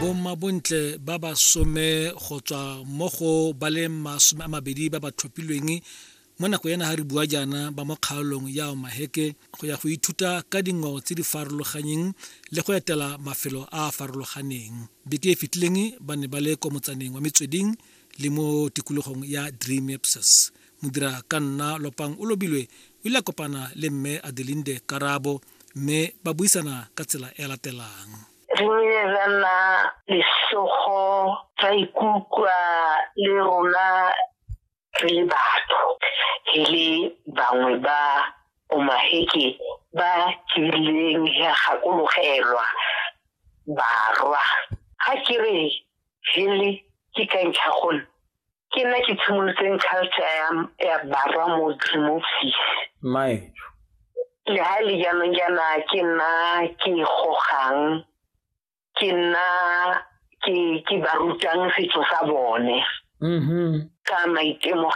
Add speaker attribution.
Speaker 1: Bommabontle ba ba some go tswa mo go ba le 20 ba ba tlhophilweng mo nako ena ga re bua jaana ba mo kgaolong ya Omaheke go ya go ithuta ka dingwao tse di farologaneng le go etela mafelo a a farologaneng. Beke e fetileng ba ne ba le kwa motsaneng wa Metsweding le mo tikologong ya Driemipses. Modira ka nna Lopang o lobilwe o ile a kopana le mme Adelinde Karabo mme ba buisana ka tsela e latelang.
Speaker 2: Re nile ra nna lesogo, ra ikutlwa le rona re le batho, re le bangwe ba Omaheke ba kileng ya gakologelwa barwa. Ga ke re hele ke ka ntlha gone ke nna ke tshimolotseng culture ya barwa mo Driemoopsies. Le ha le jaanong jaana ke nna ke gogang, ke nna ke ba rutang setso sa bone. Ka maitemogelo.